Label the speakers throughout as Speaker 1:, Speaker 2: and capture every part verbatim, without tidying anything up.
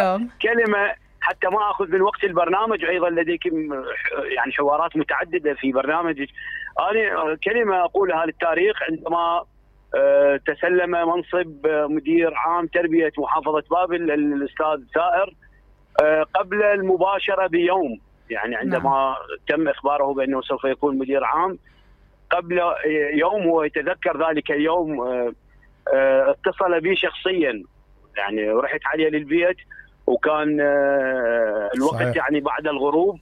Speaker 1: اليوم.
Speaker 2: كلمة حتى ما أخذ من وقت البرنامج، أيضا لديكم يعني حوارات متعددة في برنامجك. أنا كلمة أقولها للتاريخ: عندما تسلم منصب مدير عام تربية محافظة بابل الأستاذ سائر قبل المباشرة بيوم، يعني عندما نعم. تم إخباره بأنه سوف يكون مدير عام قبل يوم، هو يتذكر ذلك اليوم، اتصل بي شخصيا، يعني رحت عليه للبيت وكان الوقت صحيح. يعني بعد الغروب،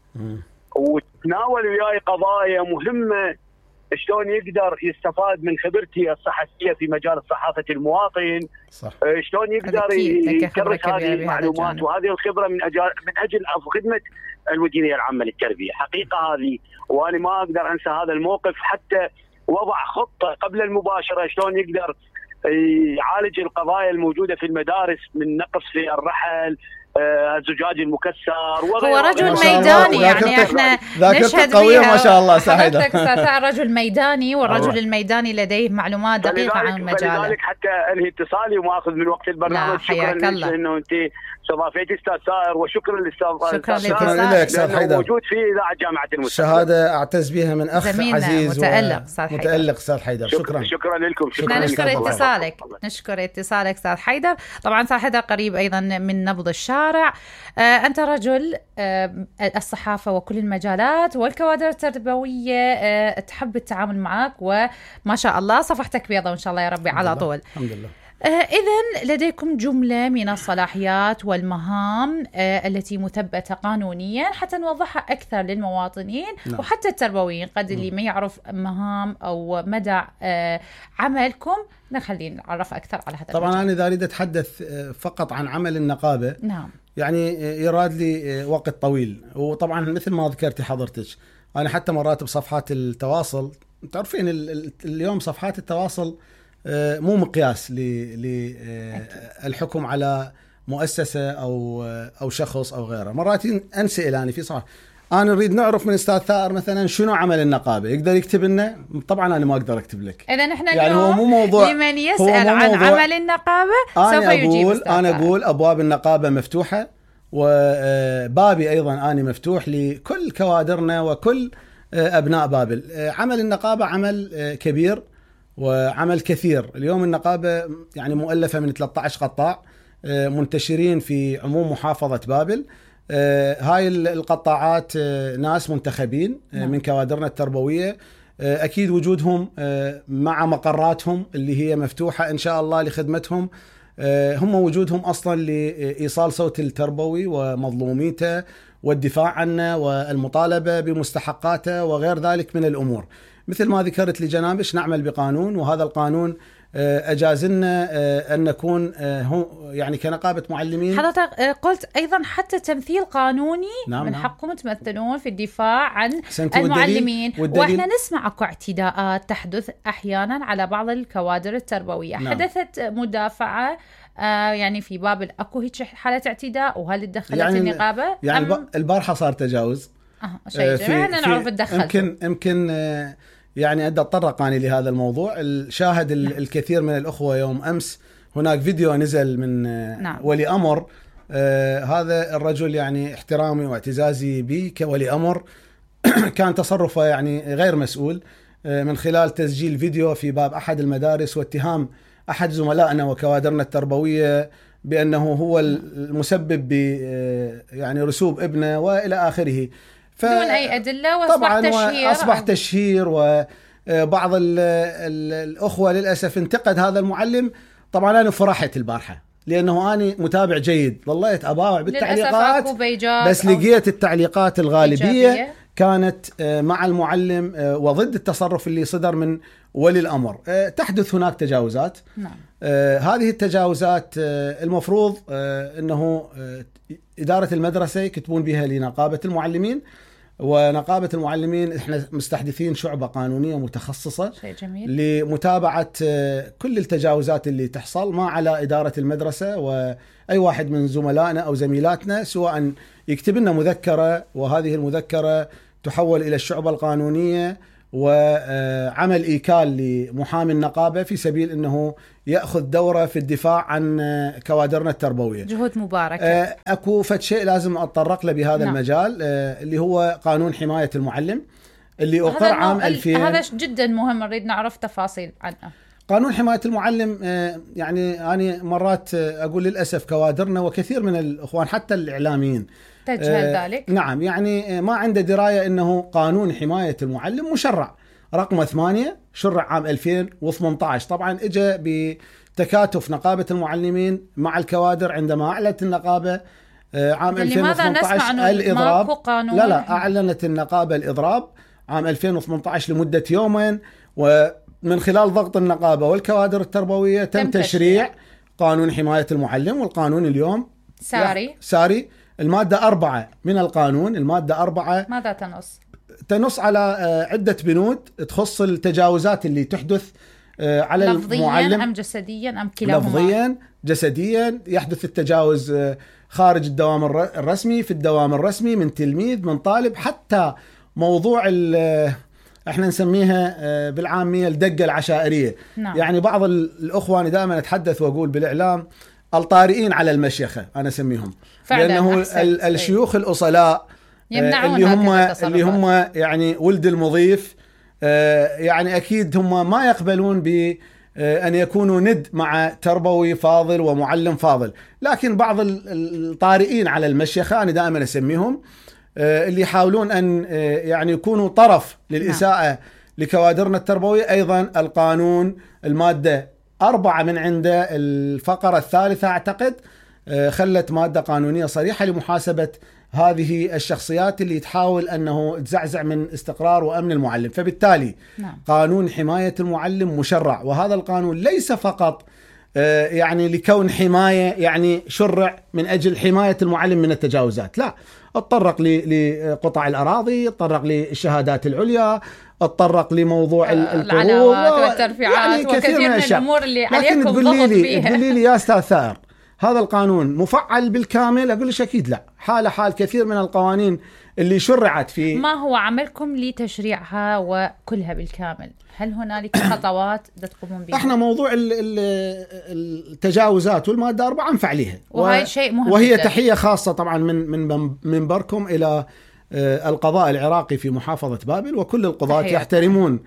Speaker 2: وتناول وياي قضايا مهمة، شلون يقدر يستفاد من خبرتي الصحفية في مجال صحافة المواطن، صح. شلون يقدر يكرس هذه المعلومات وهذه الخبرة من أجل من أجل خدمة المديرية العامة للتربية. حقيقة هذه، وأنا ما أقدر أنسى هذا الموقف، حتى وضع خطة قبل المباشرة شلون يقدر يعالج القضايا الموجودة في المدارس من نقص في الرحل، الزجاج المكسر.
Speaker 1: هو رجل ميداني، يعني احنا نشهد
Speaker 3: قوية ما شاء الله. سعيدة
Speaker 1: رجل ميداني، والرجل الميداني لديه معلومات دقيقة عن المجال.
Speaker 2: لذلك حتى انهي اتصالي وما اخذ من وقت البرنامج.
Speaker 1: شكرا لك
Speaker 2: انه انت استضافتي استاذ سائر، وشكرا للاستاذ
Speaker 1: شكرا
Speaker 3: لك استاذ حيدر،
Speaker 2: موجود في اذاعه جامعه المستقبل.
Speaker 3: شهاده اعتز بها من اخ عزيز
Speaker 1: متالق استاذ حيدر.
Speaker 3: متالق استاذ حيدر. شكرا
Speaker 2: شكرا لكم.
Speaker 1: شكرا نشكر اتصالك نشكر اتصالك استاذ حيدر. طبعا استاذ حيدر قريب ايضا من نبض الشارع. آه انت رجل آه الصحافه وكل المجالات والكوادر التربويه آه تحب التعامل معك، وما شاء الله صفحتك بيضاء وان شاء الله يا ربي على طول.
Speaker 3: الحمد لله.
Speaker 1: آه إذن لديكم جملة من الصلاحيات والمهام آه التي مثبتة قانونيا حتى نوضحها أكثر للمواطنين. نعم. وحتى التربويين، قد اللي ما يعرف مهام أو مدى آه عملكم نخليه نعرف أكثر على هذا.
Speaker 3: طبعا المجال. أنا إذا أريد أتحدث فقط عن عمل النقابة،
Speaker 1: نعم.
Speaker 3: يعني يراد لي وقت طويل، وطبعا مثل ما ذكرتي حضرتك أنا حتى مرات بصفحات التواصل، تعرفين اليوم صفحات التواصل مو مقياس للحكم على مؤسسة أو أو شخص أو غيره. مرات أنسأل أنا في صح أنا نريد نعرف من أستاذ ثائر مثلا شنو عمل النقابة، يقدر يكتب لنا؟ طبعا أنا ما أقدر أكتب لك.
Speaker 1: إذا نحن
Speaker 3: يعني هو مو موضوع،
Speaker 1: لمن يسأل عن عمل النقابة سوف يجيب أستاذ ثائر.
Speaker 3: أنا أقول أبواب النقابة مفتوحة، وبابي أيضا أنا مفتوح لكل كوادرنا وكل أبناء بابل. عمل النقابة عمل كبير وعمل كثير. اليوم النقابة يعني مؤلفة من ثلاثة عشر قطاع منتشرين في عموم محافظة بابل. هاي القطاعات ناس منتخبين من كوادرنا التربوية، أكيد وجودهم مع مقراتهم اللي هي مفتوحة إن شاء الله لخدمتهم. هم وجودهم أصلا لإيصال صوت التربوي ومظلوميته والدفاع عنه والمطالبة بمستحقاته وغير ذلك من الأمور. مثل ما ذكرت لجنابش نعمل بقانون، وهذا القانون أجاز لنا أن نكون يعني كنقابة معلمين.
Speaker 1: حضرتك قلت أيضا حتى تمثيل قانوني.
Speaker 3: نعم.
Speaker 1: من حقكم تمثلون في الدفاع عن
Speaker 3: المعلمين.
Speaker 1: والدليل والدليل. وإحنا نسمع أكو اعتداءات تحدث أحيانا على بعض الكوادر التربوية. نعم. حدثت مدافعة آه يعني في بابل أكو هيك حالة اعتداء، وهل دخلت يعني النقابة؟
Speaker 3: يعني أم... البارحة صار تجاوز.
Speaker 1: آه شيء جميل. احنا نعرف الدخل.
Speaker 3: يمكن يمكن آه يعني أدى أتطرق أنا لهذا الموضوع. الشاهد الكثير من الأخوة يوم أمس هناك فيديو نزل من
Speaker 1: نعم.
Speaker 3: ولي أمر. آه هذا الرجل يعني احترامي واعتزازي به كولي أمر كان تصرفه يعني غير مسؤول آه من خلال تسجيل فيديو في باب أحد المدارس واتهام أحد زملائنا وكوادرنا التربوية بأنه هو المسبب ب يعني رسوب ابنه وإلى آخره.
Speaker 1: ف... دون أي أدلة، وأصبح تشهير.
Speaker 3: أصبح تشهير، وبعض ال ال الأخوة للأسف انتقد هذا المعلم. طبعا أنا فرحت البارحة لأنه أنا متابع جيد، ظليت أباوع بالتعليقات، بس لقيت التعليقات الغالبية إيجابية. كانت مع المعلم وضد التصرف اللي صدر من ولي الأمر. تحدث هناك تجاوزات.
Speaker 1: نعم.
Speaker 3: هذه التجاوزات المفروض أنه إدارة المدرسة يكتبون بها لنقابة المعلمين، ونقابة المعلمين احنا مستحدثين شعبة قانونية متخصصة
Speaker 1: شيء جميل.
Speaker 3: لمتابعة كل التجاوزات اللي تحصل، ما على إدارة المدرسة وأي واحد من زملائنا أو زميلاتنا سواء يكتب لنا مذكرة، وهذه المذكرة تحول إلى الشعبة القانونية وعمل إيكال لمحامي النقابة في سبيل أنه يأخذ دورة في الدفاع عن كوادرنا التربوية.
Speaker 1: جهود مباركة.
Speaker 3: أكو فد شيء لازم أتطرق له بهذا
Speaker 1: نعم.
Speaker 3: المجال اللي هو قانون حماية المعلم اللي أقر عام ألفين.
Speaker 1: هذا جدا مهم، نريد نعرف تفاصيل عنه.
Speaker 3: قانون حماية المعلم يعني أنا مرات أقول للأسف كوادرنا وكثير من الأخوان حتى الإعلاميين
Speaker 1: تجهل ذلك.
Speaker 3: نعم، يعني ما عنده دراية أنه قانون حماية المعلم مشرع رقم ثمانية شرع عام ألفين وثمانية عشر. طبعا اجى بتكاتف نقابة المعلمين مع الكوادر عندما أعلنت النقابة عام ألفين وثمانية عشر الإضراب. لا لا أعلنت النقابة الإضراب عام ألفين وثمانية عشر لمدة يومين، ومن خلال ضغط النقابة والكوادر التربوية تم, تم تشريع قانون حماية المعلم. والقانون اليوم
Speaker 1: ساري
Speaker 3: ساري المادة أربعة من القانون. المادة أربعة
Speaker 1: ماذا تنص؟
Speaker 3: تنص على عدة بنود تخص التجاوزات اللي تحدث على
Speaker 1: لفظياً
Speaker 3: المعلم.
Speaker 1: أم جسديا أم كلاهما؟
Speaker 3: لفظيا جسديا. يحدث التجاوز خارج الدوام الرسمي، في الدوام الرسمي، من تلميذ، من طالب، حتى موضوع احنا نسميها بالعامية الدقة العشائرية.
Speaker 1: نعم.
Speaker 3: يعني بعض الأخوة دائما أتحدث وأقول بالإعلام الطارئين على المشيخة أنا أسميهم، لأنه الشيوخ الأصلاء اللي هم اللي هم يعني ولد المضيف يعني أكيد هم ما يقبلون بأن يكونوا ند مع تربوي فاضل ومعلم فاضل. لكن بعض الطارئين على المشيخة أنا دائما أسميهم اللي يحاولون أن يعني يكونوا طرف للإساءة نعم. لكوادرنا التربوية. أيضا القانون المادة أربعة من عنده الفقرة الثالثة أعتقد خلت مادة قانونية صريحة لمحاسبة هذه الشخصيات اللي تحاول أنه تزعزع من استقرار وأمن المعلم. فبالتالي
Speaker 1: نعم.
Speaker 3: قانون حماية المعلم مشرع، وهذا القانون ليس فقط يعني لكون حماية يعني شرع من أجل حماية المعلم من التجاوزات، لا، اتطرق لقطع الأراضي، اتطرق للشهادات العليا، اتطرق لموضوع
Speaker 1: العلاوات والترفيعات يعني وكثير من, من الأمور اللي عليكم ضغط فيها.
Speaker 3: تقولي لي يا أستاذ ثائر هذا القانون مفعل بالكامل؟ أقول لك أكيد لا، حال حال كثير من القوانين اللي شرعت في.
Speaker 1: ما هو عملكم لتشريعها وكلها بالكامل؟ هل هنالك خطوات تقومون بها؟
Speaker 3: احنا موضوع التجاوزات والمادة أربعة نفعليها،
Speaker 1: وهي شيء مهم
Speaker 3: وهي
Speaker 1: جدا.
Speaker 3: تحية خاصة طبعا من من منبركم إلى القضاء العراقي في محافظة بابل، وكل القضاة يحترمون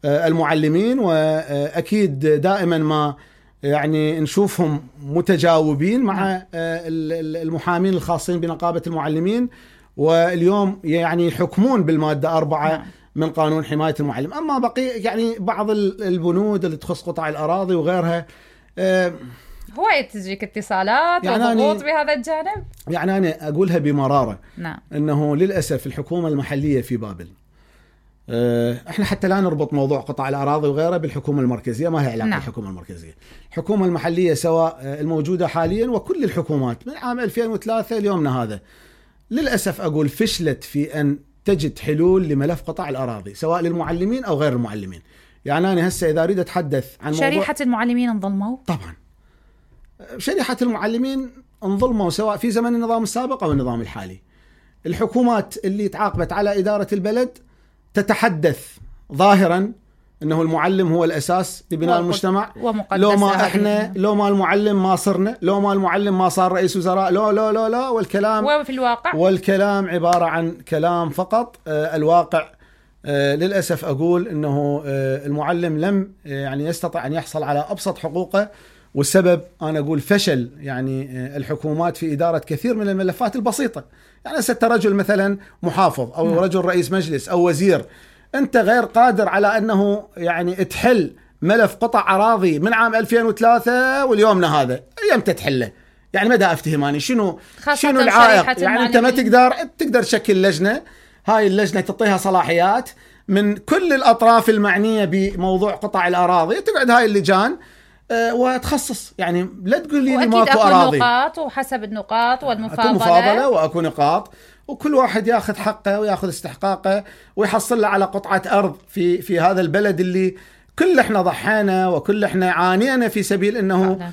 Speaker 3: المعلمين، وأكيد دائما ما يعني نشوفهم متجاوبين مع المحامين الخاصين بنقابة المعلمين، واليوم يعني يحكمون بالمادة أربعة من قانون حماية المعلم. أما بقي يعني بعض البنود اللي تخص قطع الأراضي وغيرها
Speaker 1: هو تجيك اتصالات يعني وضغوط بهذا الجانب.
Speaker 3: يعني أنا أقولها بمرارة
Speaker 1: نعم.
Speaker 3: أنه للأسف الحكومة المحلية في بابل، احنا حتى لا نربط موضوع قطع الأراضي وغيره بالحكومة المركزية، ما هي علاقة
Speaker 1: نعم.
Speaker 3: الحكومة المركزية. الحكومة المحلية سواء الموجودة حاليا وكل الحكومات من عام ألفين وثلاثة اليومنا هذا للأسف أقول فشلت في أن تجد حلول لملف قطع الأراضي سواء للمعلمين أو غير المعلمين. يعني أنا هسه إذا أريد أتحدث عن موضوع
Speaker 1: شريحة المعلمين انظلموا.
Speaker 3: طبعا شريحة المعلمين انظلموا سواء في زمن النظام السابق أو النظام الحالي. الحكومات اللي تعاقبت على إدارة البلد تتحدث ظاهرا انه المعلم هو الاساس لبناء المجتمع، لو ما احنا لو ما المعلم ما صرنا، لو ما المعلم ما صار رئيس وزراء، لا لا لا لا والكلام
Speaker 1: وفي الواقع
Speaker 3: والكلام عبارة عن كلام فقط. آه الواقع آه للأسف أقول أنه آه المعلم لم آه يعني يستطيع أن يحصل على أبسط حقوقه، والسبب أنا أقول فشل يعني آه الحكومات في إدارة كثير من الملفات البسيطة. يعني ست رجل مثلا محافظ أو م. رجل رئيس مجلس أو وزير، أنت غير قادر على أنه يعني تحل ملف قطع أراضي من عام ألفين وثلاثة واليومنا هذا أيام تتحله. يعني مدى أفتهماني شنو شنو العائق؟ يعني أنت ما تقدر تقدر تشكل لجنة، هاي اللجنة تعطيها صلاحيات من كل الأطراف المعنية بموضوع قطع الأراضي، تقعد هاي اللجان أه وتخصص. يعني لا تقول لي ماكو أراضي،
Speaker 1: نقاط وحسب النقاط والمفاضلة،
Speaker 3: أكو مفاضلة وأكو نقاط، وكل واحد ياخذ حقه وياخذ استحقاقه ويحصل له على قطعة أرض في في هذا البلد اللي كل احنا ضحينا وكل احنا عانينا في سبيل انه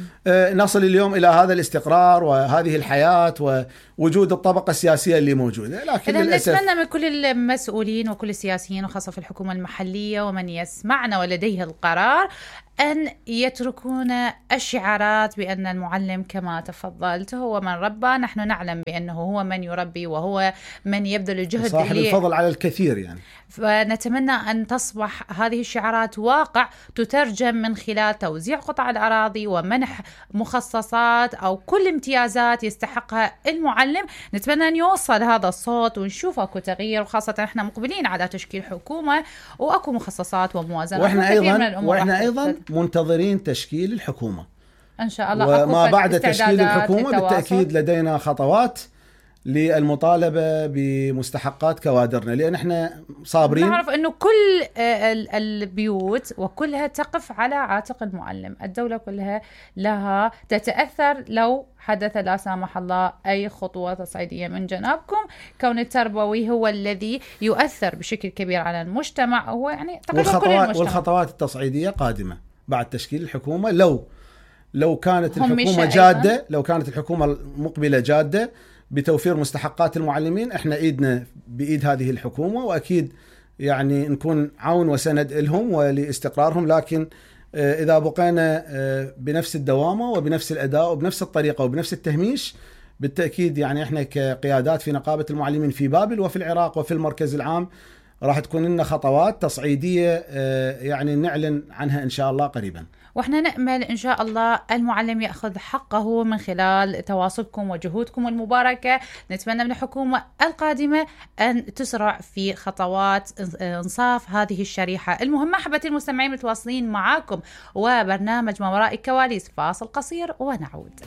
Speaker 3: نصل اليوم الى هذا الاستقرار وهذه الحياه ووجود الطبقه السياسيه اللي موجوده. لكن للاسف
Speaker 1: نتمنى من كل المسؤولين وكل السياسيين وخاصه في الحكومه المحليه ومن يسمعنا ولديه القرار أن يتركون الشعارات بأن المعلم كما تفضلت هو من ربى. نحن نعلم بأنه هو من يربي وهو من يبذل الجهد،
Speaker 3: صاحب الفضل على الكثير يعني.
Speaker 1: فنتمنى أن تصبح هذه الشعارات واقع تترجم من خلال توزيع قطع الأراضي ومنح مخصصات أو كل امتيازات يستحقها المعلم. نتمنى أن يوصل هذا الصوت ونشوف أكو تغيير، وخاصة احنا مقبلين على تشكيل حكومة وأكو مخصصات وموازنات.
Speaker 3: وإحنا أيضا, وإحنا أيضا منتظرين تشكيل الحكومة
Speaker 1: إن شاء الله.
Speaker 3: وما بعد تشكيل الحكومة بالتأكيد لدينا خطوات للمطالبة بمستحقات كوادرنا، لأن احنا صابرين.
Speaker 1: نعرف أنه كل البيوت وكلها تقف على عاتق المعلم. الدولة كلها لها تتأثر لو حدث لا سامح الله أي خطوة تصعيدية من جنابكم. كون التربوي هو الذي يؤثر بشكل كبير على المجتمع، هو يعني
Speaker 3: تقريبا كل المجتمع. والخطوات التصعيدية قادمة بعد تشكيل الحكومة. لو لو كانت الحكومة جادة أيضاً. لو كانت الحكومة مقبلة جادة بتوفير مستحقات المعلمين، احنا ايدنا بايد هذه الحكومة، واكيد يعني نكون عون وسند لهم ولاستقرارهم. لكن اذا بقينا بنفس الدوامة وبنفس الاداء وبنفس الطريقة وبنفس التهميش، بالتأكيد يعني احنا كقيادات في نقابة المعلمين في بابل وفي العراق وفي المركز العام راح تكون لنا خطوات تصعيدية يعني نعلن عنها إن شاء الله قريبا.
Speaker 1: وإحنا نأمل إن شاء الله المعلم يأخذ حقه من خلال تواصلكم وجهودكم المباركة. نتمنى من الحكومة القادمة أن تسرع في خطوات إنصاف هذه الشريحة المهمة. أحبتي المستمعين متواصلين معاكم وبرنامج ما وراء الكواليس، فاصل قصير ونعود.